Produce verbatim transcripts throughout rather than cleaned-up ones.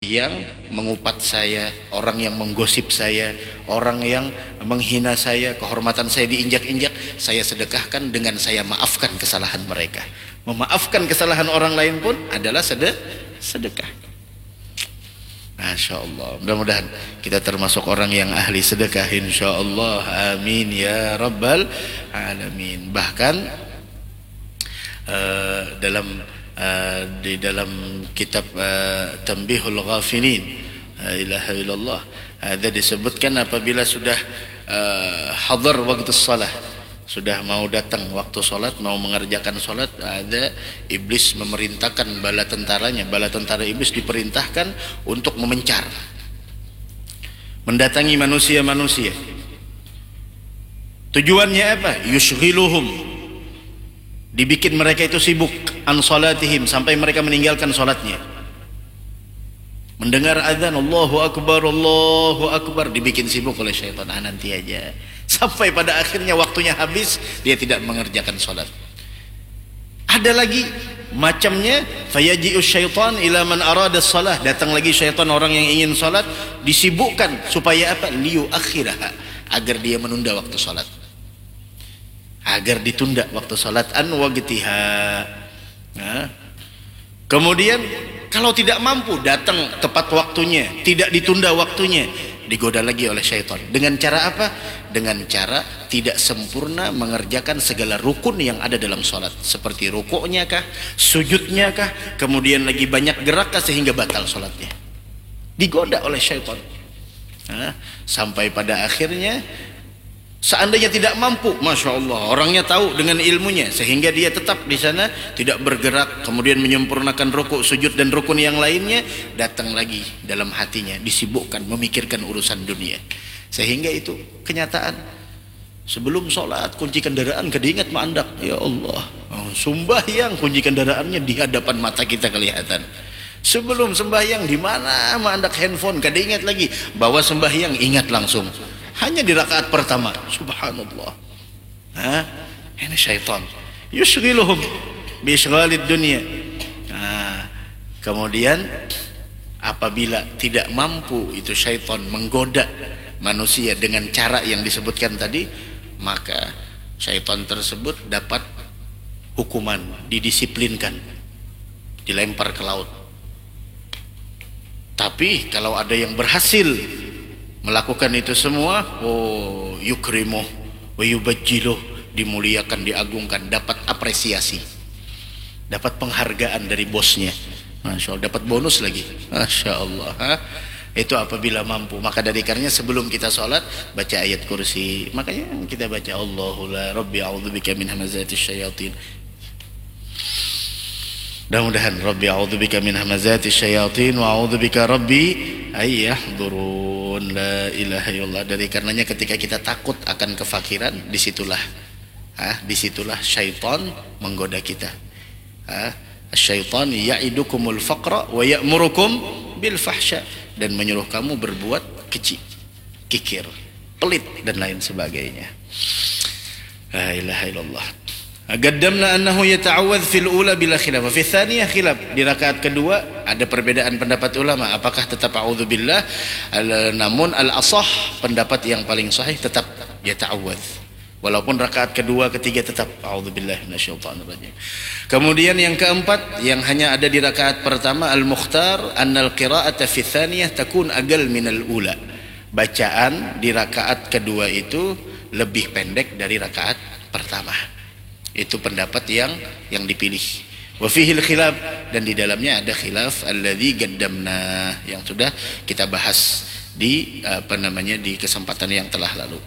yang mengupat saya, orang yang menggosip saya, orang yang menghina saya, kehormatan saya diinjak-injak, saya sedekahkan dengan saya maafkan kesalahan mereka. Memaafkan kesalahan orang lain pun adalah sede- sedekah. Masya Allah. Mudah-mudahan kita termasuk orang yang ahli sedekah, insya Allah. Amin ya rabbal alamin. Bahkan eh, dalam eh, di dalam kitab eh, Tambihul Ghafilin, la ilaha illallah, ada disebutkan apabila sudah eh, hadar waktu salat, sudah mau datang waktu salat, mau mengerjakan salat, ada iblis memerintahkan bala tentaranya, bala tentara iblis diperintahkan untuk memencar, mendatangi manusia-manusia. Tujuannya apa? Yushghiluhum, dibikin mereka itu sibuk, an salatihim, sampai mereka meninggalkan salatnya. Mendengar azan, Allahu Akbar, Allahu Akbar, dibikin sibuk oleh syaitan. Ah, nanti aja. Sampai pada akhirnya waktunya habis, dia tidak mengerjakan salat. Ada lagi macamnya, fayaji'u syaitan ila man arada salah, datang lagi syaitan orang yang ingin salat, disibukkan supaya apa? Liyu akhiraha, agar dia menunda waktu salat, agar ditunda waktu salat an waqtiha. Nah, kemudian kalau tidak mampu datang tepat waktunya, tidak ditunda waktunya, digoda lagi oleh syaitan. Dengan cara apa? Dengan cara tidak sempurna mengerjakan segala rukun yang ada dalam salat, seperti rukuknya kah, sujudnya kah, kemudian lagi banyak gerak kah, sehingga batal salatnya. Digoda oleh syaitan. Nah, sampai pada akhirnya seandainya tidak mampu, masya Allah, orangnya tahu dengan ilmunya sehingga dia tetap di sana, tidak bergerak, kemudian menyempurnakan rukuk, sujud, dan rukun yang lainnya, datang lagi dalam hatinya, disibukkan memikirkan urusan dunia, sehingga itu kenyataan. Sebelum sholat, kunci kendaraan kada ingat maandak. Ya Allah, sumbahyang, kunci kendaraannya di hadapan mata kita kelihatan. Sebelum sembahyang, di mana maandak handphone, kada ingat lagi. Bawa sembahyang, ingat langsung. Hanya di rakaat pertama. Subhanallah. Hah? Ini syaitan. Yushghiluhum bi isyghalid dunya. Nah, kemudian apabila tidak mampu itu syaitan menggoda manusia dengan cara yang disebutkan tadi, maka syaitan tersebut dapat hukuman, didisiplinkan, dilempar ke laut. Tapi kalau ada yang berhasil melakukan itu semua, oh, yukrimuh wa yubajjiluh, dimuliakan, diagungkan, dapat apresiasi, dapat penghargaan dari bosnya. Masya Allah, dapat bonus lagi. Masya Allah. Ha? Itu apabila mampu. Maka dari karenanya sebelum kita sholat, baca ayat kursi. Makanya kita baca Allahula Rabbi a'udzubika min hamazati syayatin. Mudah-mudahan Rabbi a'udzubika min hamazati syayatin wa a'udzubika Rabbi ayyahdurun. La ilaha illallah. Dari karenanya ketika kita takut akan kefakiran, disitulah, ah, disitulah syaitan menggoda kita. Ah, syaitan ya'idukumul faqra wa ya'murukum bil fahsya, dan menyuruh kamu berbuat keji, kikir, pelit, dan lain sebagainya. La ilaha illallah. Gaddamna annahu yata'awwadz fil ula bila khilaf. Wa fi tsaniyah khilaf. Di rakaat kedua ada perbedaan pendapat ulama. Apakah tetap a'udzubillah? Al- namun al-asah, pendapat yang paling sahih, tetap yata'awwadz. Walaupun rakaat kedua, ketiga tetap a'udzubillah minasyaitonir rajim. Kemudian yang keempat, yang hanya ada di rakaat pertama, al-mukhtar annal qira'ata fi tsaniyah takun aqall minal ula. Bacaan di rakaat kedua itu lebih pendek dari rakaat pertama. Itu pendapat yang yang dipilih. Wa fihil khilaf, dan di dalamnya ada khilaf alladzi gaddamna, yang sudah kita bahas di, apa namanya, di kesempatan yang telah lalu.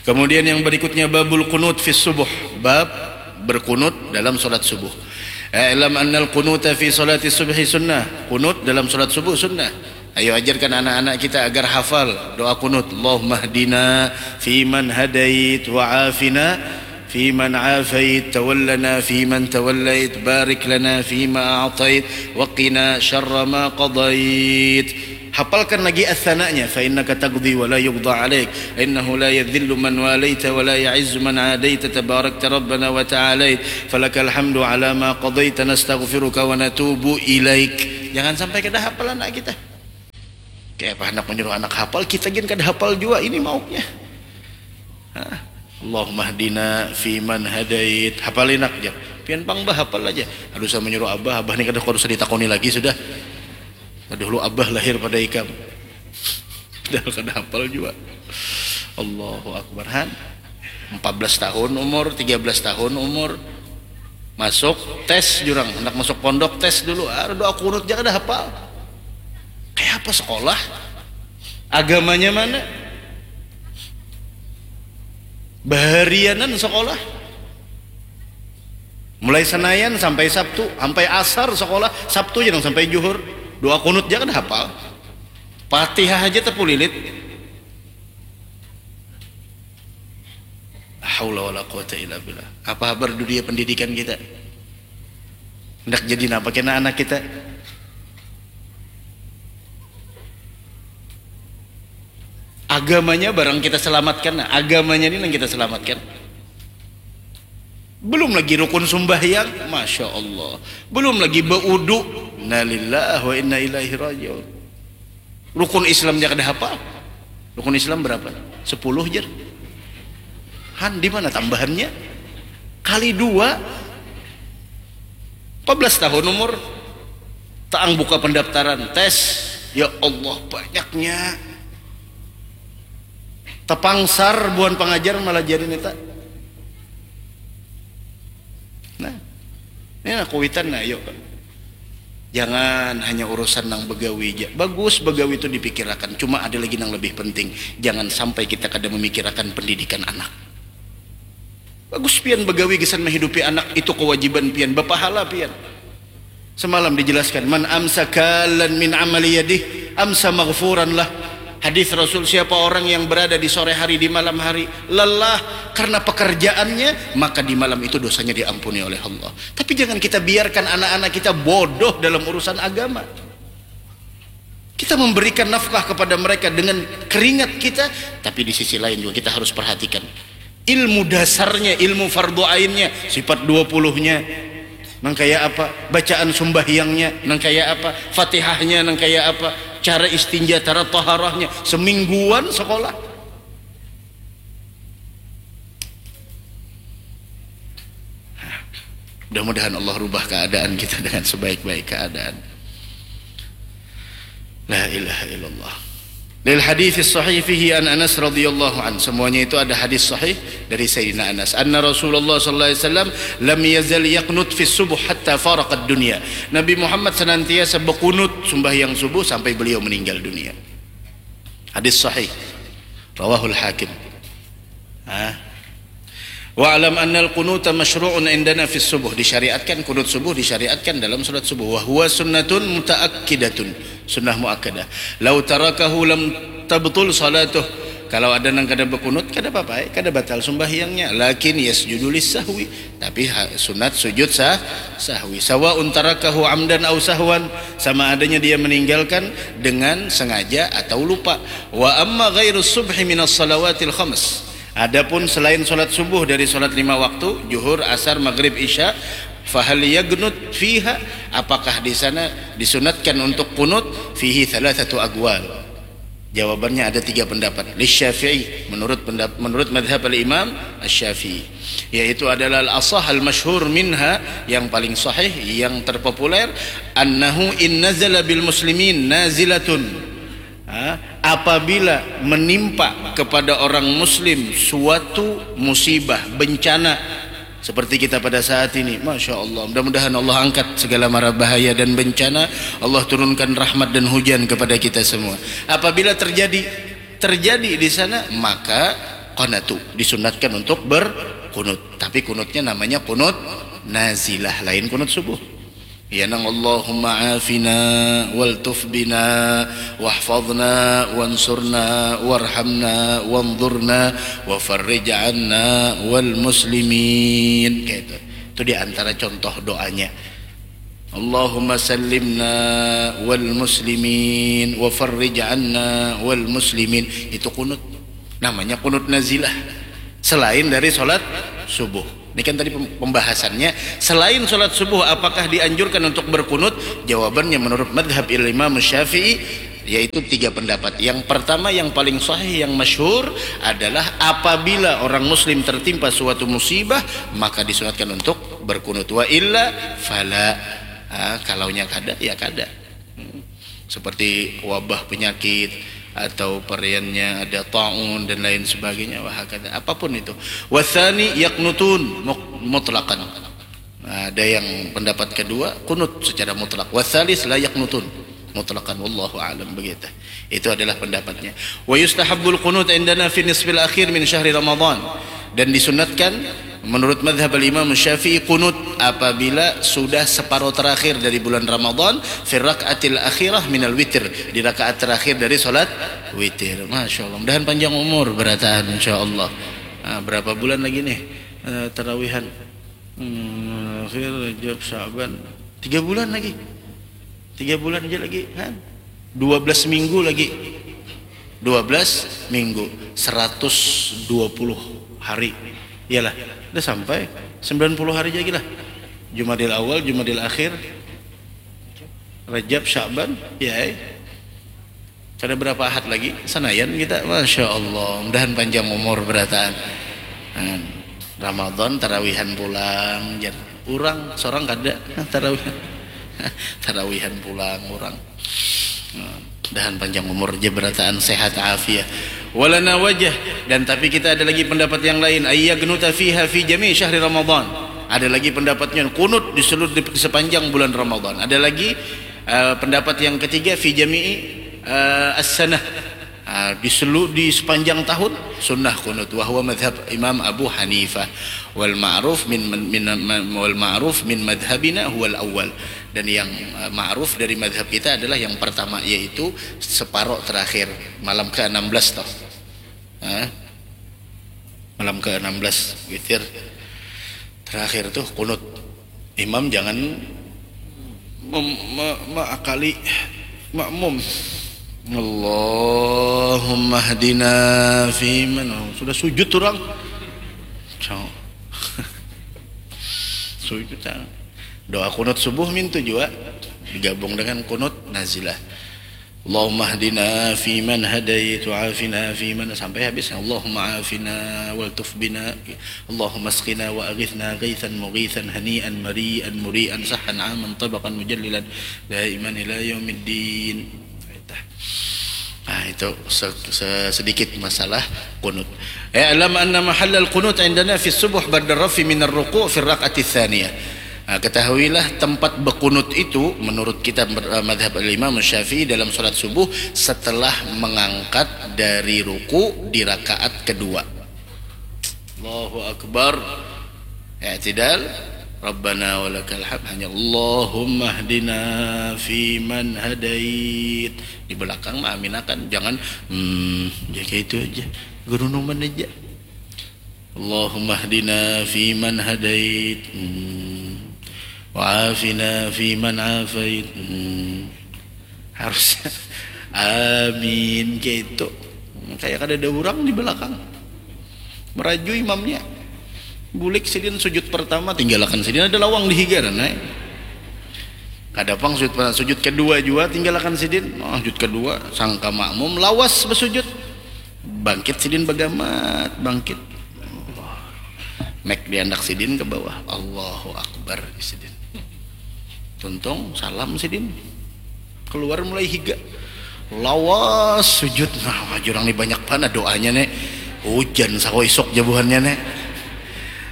Kemudian yang berikutnya babul qunut fi subuh, bab berkunut dalam salat subuh. I'lam annal qunuta fi salati subhi sunnah. Kunut dalam salat subuh sunnah. Ayo ajarkan anak-anak kita agar hafal doa kunut. Allahumma hdina fiman hadait wa afina fiman afait, tawallana fiman tawallait, barik lana fima a'tait, wa qina syarra ma qadait. Hafalkan lagi as-sananya, fa innaka taqdi wa la yuqda alaik, innahu la yadhillu man walaita wa la ya'izzu man adaita, tabarakta rabbana wa ta'alait, falakal hamdu ala ma qadaita, nastaghfiruka wa natubu ilaik. Jangan sampai kada hafal anak kita. Kayak apa hendak menyuruh anak hafal, kita gin kada hafal jua, ini mauknya. Hah? Allahumma hdina fiman hadait. Hafal inak, jar. Pian pang bahafal aja. Aduh, saya menyuruh abah, abah ni kada, kada usah ditakoni lagi sudah. Dahulu abah lahir pada ikam. Padahal kada hafal jua. Allahu Akbar, han. Empat belas tahun umur, tiga belas tahun umur. Masuk, tes jurang, hendak masuk pondok, tes dulu. Ah, doa kunut ja kada hafal. Kayak apa sekolah? Agamanya mana? Baharianan sekolah. Mulai Senayan sampai Sabtu, sampai asar sekolah, Sabtu ja nang sampai juhur. Doa kunut ja kada hafal. Fatihah aja tepulilit. La haula wala quwata illa billah. Apa habar dunia pendidikan kita? Hendak jadi napa kena anak kita? Agamanya barang kita selamatkan, nah, agamanya ini yang kita selamatkan. Belum lagi rukun sumbahyang, masya Allah. Belum lagi baudu, innalillahi wa inna ilaihi rajiun. Rukun Islam ja kada hafal. Rukun Islam berapa? Sepuluh, jar. Han, di mana tambahannya? Kali dua, empat belas tahun umur, taang buka pendaftaran, tes. Ya Allah, banyaknya. Tapangsar buhan pangajar malajari neta. Nah, ini nah kuitan, nah, ayo. Jangan hanya urusan nang begawi ja. Bagus begawi itu dipikirakan, cuma ada lagi nang lebih penting. Jangan sampai kita kada memikirakan pendidikan anak. Bagus pian begawi gasan menghidupi anak, itu kewajiban pian, bapahala pian. Semalam dijelaskan, man amsa kalan min amali yadih, amsa maghfuran lah. Hadis Rasul, siapa orang yang berada di sore hari, di malam hari, lelah karena pekerjaannya, maka di malam itu dosanya diampuni oleh Allah. Tapi jangan kita biarkan anak-anak kita bodoh dalam urusan agama. Kita memberikan nafkah kepada mereka dengan keringat kita, tapi di sisi lain juga kita harus perhatikan ilmu dasarnya, ilmu fardu ainnya, sifat dua puluhnya nang kaya apa, bacaan sumbahyangnya nang kaya apa, fatihahnya nang kaya apa, cara istinja, cara taharahnya, semingguan sekolah. Mudah-mudahan Allah rubah keadaan kita dengan sebaik-baik keadaan. La ilaha illallah. Lil hadis sahih fihi an Anas radhiyallahu an. Semuanya itu ada hadis sahih dari Sayyidina Anas. Anna Rasulullah sallallahu alaihi wasallam lam yazal yaqnut fi subuh hatta faraqad dunya. Nabi Muhammad senantiasa bekunut sembahyang subuh sampai beliau meninggal dunia. Hadis sahih. Rawahul Hakim. Ah. Wa alam annal qunuta masyru'un indana fis subuh. Disyariatkan, kunut subuh disyariatkan dalam salat subuh. Wa huwa sunnatun mutaakkidatun. Sunnah muakkadah. Lau tarakahu lam tabtul salatuh. Kalau ada nang kada bekunut, kada apa-apa, eh, kada batal sembahyangnya. Lakin yasjudu lis sahwi. Tapi ha-, sunat sujud sah, sahwi. Sawaun tarakahu amdan au sahwan, sama adanya dia meninggalkan dengan sengaja atau lupa. Wa amma ghairus subhi minas salawatil khams. Adapun selain salat subuh dari salat lima waktu, juhur, asar, maghrib, isya, fahal yagnut fiha, apakah di sana disunatkan untuk kunut? Fihi thalathatu aqwal. Jawabannya ada tiga pendapat. Lisyafi'i, menurut pendap-, menurut madhab al-Imam Asy-Syafi'i, yaitu adalah al-asah al-masyhur minha, yang paling sahih, yang terpopuler, annahu in nazala bil muslimin nazilatun. Ha, apabila menimpa kepada orang muslim suatu musibah, bencana, seperti kita pada saat ini, masya Allah, mudah-mudahan Allah angkat segala mara bahaya dan bencana, Allah turunkan rahmat dan hujan kepada kita semua. Apabila terjadi, terjadi di sana, maka qanatu, disunatkan untuk berkunut. Tapi kunutnya namanya kunut nazilah, lain kunut subuh. Ya nang Allahumma afina wal tuf bina wahfadna wansurna warhamna wanzurna wa farrij anna wal muslimin. Kayak itu. Itu di antara contoh doanya. Allahumma sallimna wal muslimin wa farrij anna wal muslimin. Itu kunut. Namanya kunut nazilah. Selain dari salat subuh. Ini kan tadi pem-, pembahasannya. Selain salat subuh, apakah dianjurkan untuk berkunut? Jawabannya menurut madhab Imam Syafi'i, Yaitu tiga pendapat. Yang pertama, yang paling sahih, yang masyhur adalah apabila orang muslim tertimpa suatu musibah, maka disunatkan untuk berkunut. Wa illa fala. Ah, kalaunya kada, ya kada. Hmm. Seperti wabah penyakit atau pariannya ada taun dan lain sebagainya, wahakada. Apapun itu. Watsani yaqnutun muk-, mutlaqan. Nah, ada yang pendapat kedua, kunut secara mutlak. Wasalis la yaqnutun mutlaqan, wallahu a'lam, begitu. Itu adalah pendapatnya. Wa yustahabbul qunut indana fi nisfil akhir min syahri Ramadan. Dan disunatkan menurut madhab al-Imam Syafi'i kunut apabila sudah separuh terakhir dari bulan Ramadan, fi rakaatil akhirah minal witir, di rakaat terakhir dari salat witir. Masya Allah, mudahan panjang umur berataan, insya Allah. Nah, berapa bulan lagi nih, eh, tarawihan? Hmm, akhir Rajab, Syaban. Tiga bulan lagi. Tiga bulan aja lagi, kan? Dua belas minggu lagi. Dua belas minggu. Seratus dua puluh hari. Iyalah, udah sampai. Sembilan puluh hari aja lagi lah. Jumadil Awal, Jumadil Akhir, Rajab, Syaban, ya, eh. Kada berapa ahad lagi, sanayan kita, Masya Allah, mudahan panjang umur berataan. Nah, Ramadan tarawihan pulang, jar. Urang, sorang kada, tarawihan. Tarawihan pulang, urang. Nah, mudahan panjang umur aja berataan, sehat afiah. Walana wajah, dan tapi kita ada lagi pendapat yang lain, ayyagnuta fiha fi jami syahri Ramadan. Ada lagi pendapatnya, kunut di seluruh, di sepanjang bulan Ramadan. Ada lagi, eh, pendapat yang ketiga, fi jami'i, eh, as-sanah. Ah, di selu-, di sepanjang tahun sunnah kunut, wa huwa madhab Imam Abu Hanifah, wal ma'ruf min, min, min, wal ma'ruf min madhabina huwal awal. Dan yang, eh, ma'ruf dari madhab kita adalah yang pertama, yaitu separoh terakhir, malam ke enam belas toh. Hah? Malam ke enam belas witir terakhir tuh kunut. Imam jangan mem-, me-, meakali makmum. Allahumma hdina fiman. Sudah sujud orang. Cau. Sujud, cau. Doa kunut subuh mintu jua digabung dengan kunut nazilah. Allahumma hdina fiman hadait wa afina fiman, sampai habis. Allahumma afina wal tuf bina. Allahumma asqina wa aghithna ghaithan mughithan hani'an mari'an muri'an sahhan aman tabaqan mujallilan daiman ila yaumiddin. Nah, itu se-, se-, sedikit masalah kunut. Ya, alam anna mahallal qunut indana fi subuh ba'da rafi minar ruku' fi rak'ati tsaniyah. Nah, ketahuilah tempat bekunut itu menurut kita ber-, madhab al-Imam Syafi'i dalam salat subuh setelah mengangkat dari ruku di rakaat kedua. Allahu Akbar. I'tidal. Rabbana walakal hamd. Hanya Allahumma hdina fiman hadait. Di belakang maaminakan. Jangan, hmm, ya kayak itu aja. Gerunuman aja. Allahumma hdina fiman hadait. Hmm. Wa afina fiman afait. Hmm. Harus amin kayak itu. Kayak kada ada orang di belakang. Meraju imamnya. Bulik sidin sujud pertama, tinggalakan sidin, ada lawang di higa, nah. Kada pang sujud pertama, sujud kedua jua, tinggalakan sidin. Oh, sujud kedua, sangka makmum, lawas bersujud. Bangkit sidin bagamat, bangkit. Mek diandak sidin ke bawah. Allahu Akbar, sidin. Tuntung, salam sidin. Keluar mulai higa. Lawas sujud. Nah, wah, jurang ni banyak banar doanya, ne. Hujan sako isuk jabuhannya, ne.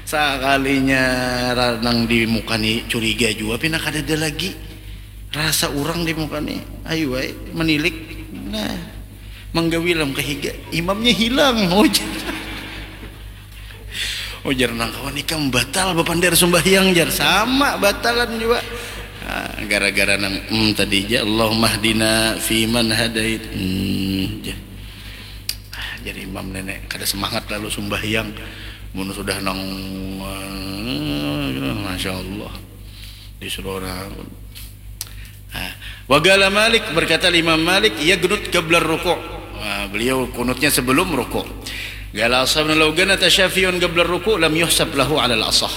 Sakalinya ra-, nang di muka ni curiga jua, pina kadada lagi. Rasa urang di muka ni. Ayu ai, menilik. Nah, manggawi lam kahiga. Imamnya hilang. Hujan. Ujar nang kawan ikam batal bapander sumbahyang, jar. Sama batalan jua. Ah, gara-gara nang, mm, tadi ja, Allahumma hdina fiman hadait. Hmm, ja. Ah, jadi imam nenek kada semangat lalu sumbahyang. Mun sudah nang, eh, Masya Allah. Disuruh orang. Nah, wagala Malik, berkata Imam Malik, ia genut qablar ruku'. Nah, beliau kunutnya sebelum ruku'. Gala ashabna law ganata Syafi'un qablar ruku' lam yuhsab lahu alal asah.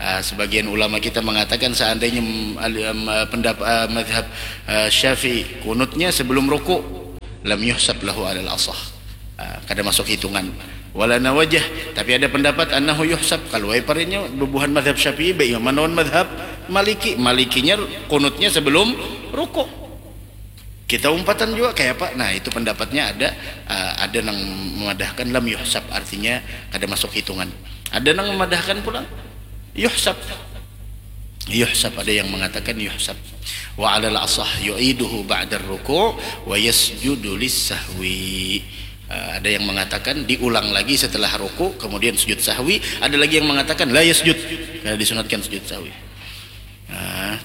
Ah, sebagian ulama kita mengatakan seandainya mm, al- em, eh, pendap, eh, madhab eh, Syafi'i kunutnya sebelum ruku, lam yuhsab lahu alal asah. Ah, kada masuk hitungan. Walana wajah, tapi ada pendapat annahu yuhsab. Kalau ai parinya bubuhan madhab Syafi'i baik manawan madhab Maliki. Malikinya kunutnya sebelum ruku. Kita umpatan juga kayak apa? Nah, itu pendapatnya ada eh, ada nang memadahkan lam yuhsab, artinya kada masuk hitungan. Ada nang memadahkan pulang yuhsab. Yuhsab, ada yang mengatakan yuhsab. Wa alal asah yu'iduhu ba'dar ruku' wa yasjudu lis sahwi. Eh, ada yang mengatakan diulang lagi setelah ruku kemudian sujud sahwi, ada lagi yang mengatakan la yasjud, karena disunatkan sujud sahwi. Nah,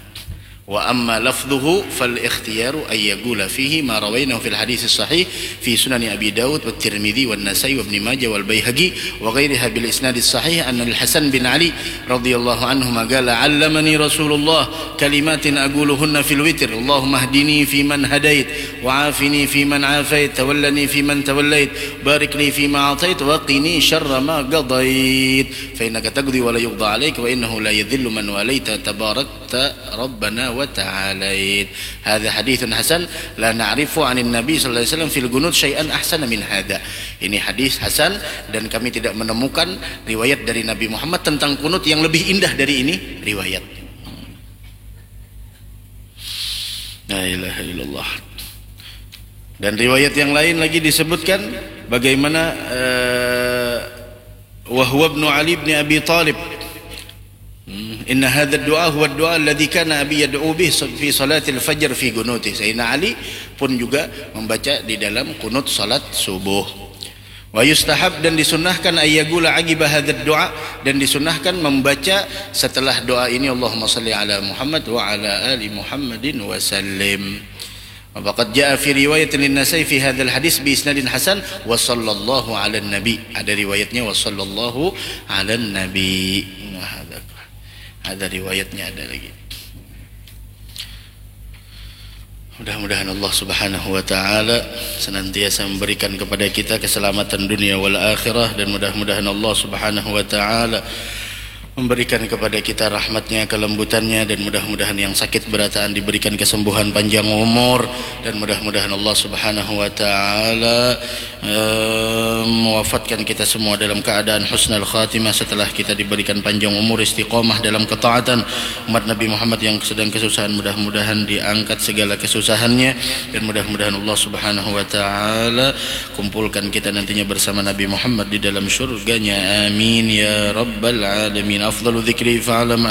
wa amma lafdhuhu fal ikhtiyaru ay yaqula fihi ma rawainahu fil hadis sahih fi sunani Abi Daud wa Tirmidzi wa Nasai wa Ibni Majah wal Baihaqi wa ghairiha bil isnad sahih an al Hasan bin Ali radhiyallahu anhu qala allamani Rasulullah kalimatin aquluhunna fil witr, Allahumma hdini fi man hadait wa afini fi man afait tawallani fi man tawallait barik li fi ma atait wa qini syarra ma qadait fa innaka taqdi wa la yuqda alaik wa innahu la yadhillu man walaita tabarakta rabbana wa ta'alait. Hadza haditsun hasan la na'rifu anin nabi sallallahu alaihi wasallam fil qunut syai'an ahsana min hadza. Ini hadis hasan dan kami tidak menemukan riwayat dari Nabi Muhammad tentang kunut yang lebih indah dari ini riwayat. La ilaha illallah. Dan riwayat yang lain lagi disebutkan bagaimana eh, wa huwa ibnu Ali bin Abi Talib. Hmm, inna hadzal du'a huwa du'a alladzi kana abi yad'u bih fi salatil fajr fi qunuti. Sayyidina Ali pun juga membaca di dalam kunut salat subuh. Wa yustahab, dan disunnahkan, ayyagula aqiba hadzal du'a, dan disunnahkan membaca setelah doa ini Allahumma salli ala Muhammad wa ala ali Muhammadin wa sallim. Wa qad jaa fi riwayatin lin Nasai fi hadzal hadis bi isnadin hasan wa sallallahu ala nabi. Ada riwayatnya wa sallallahu ala nabi. Nah, ada, ada riwayatnya ada lagi. Mudah-mudahan Allah Subhanahu wa taala senantiasa memberikan kepada kita keselamatan dunia wal akhirah dan mudah-mudahan Allah Subhanahu wa taala memberikan kepada kita rahmatnya, kelembutannya dan mudah-mudahan yang sakit berataan diberikan kesembuhan panjang umur dan mudah-mudahan Allah Subhanahu wa taala eh, mewafatkan kita semua dalam keadaan husnul khatimah setelah kita diberikan panjang umur istiqomah dalam ketaatan umat Nabi Muhammad yang sedang kesusahan mudah-mudahan diangkat segala kesusahannya dan mudah-mudahan Allah Subhanahu wa taala kumpulkan kita nantinya bersama Nabi Muhammad di dalam surganya amin ya rabbal alamin afdalu dzikri fa'lam